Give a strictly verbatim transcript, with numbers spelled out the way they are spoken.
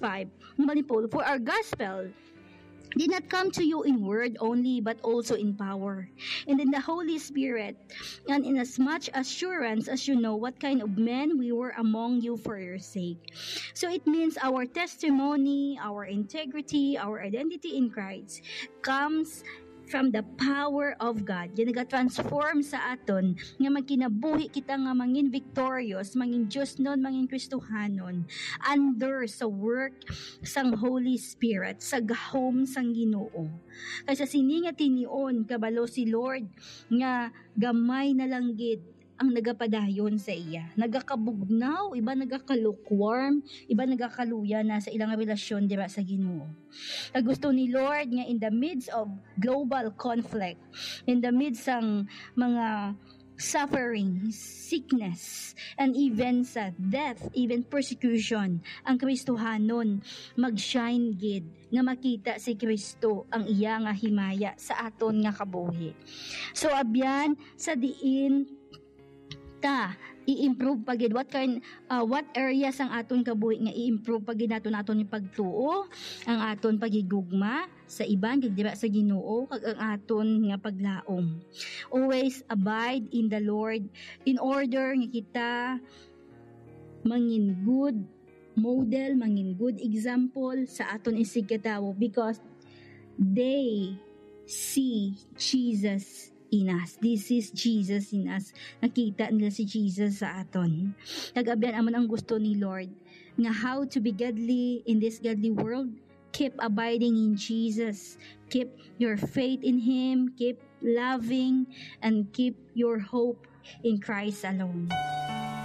five, ni Paul, "For our gospel did not come to you in word only, but also in power, and in the Holy Spirit, and in as much assurance as you know what kind of men we were among you for your sake." So it means our testimony, our integrity, our identity in Christ comes from the power of God. Yan nagatransform sa aton nga magkinabuhi kita nga mangin victorious, mangin Diosnon, mangin Kristohanon under sa work sang Holy Spirit, sa gahom sang Ginoo. Kay sa sini nga tinion, kabalo si Lord nga gamay na lang gid ang nagapadayon sa iya. Nagakabugnaw, iba nagakalukewarm, iba nagakaluya na sa ilang relasyon dira sa Ginoo. Kag gusto ni Lord nga in the midst of global conflict, in the midst sang mga suffering, sickness, and even sa death, even persecution, ang Kristohanon mag-shine gid nga makita si Kristo ang iya nga himaya sa aton nga kabuhi. So, abyan, sa diin ta i-improve pa gid, what kind, uh, what areas ang aton kabuhi nga i-improve pa gid naton, aton yung pagtuo, ang aton paghigugma sa iban, kag dira sa Ginoo, kag ang aton nga paglaom. Always abide in the Lord in order nga kita mangin good model, mangin good example sa aton isigkatawo, because they see Jesus in us. This is Jesus in us. Nakita nila si Jesus sa aton. Nag-abyan amon ang gusto ni Lord nga how to be godly in this godly world. Keep abiding in Jesus. Keep your faith in Him. Keep loving and keep your hope in Christ alone.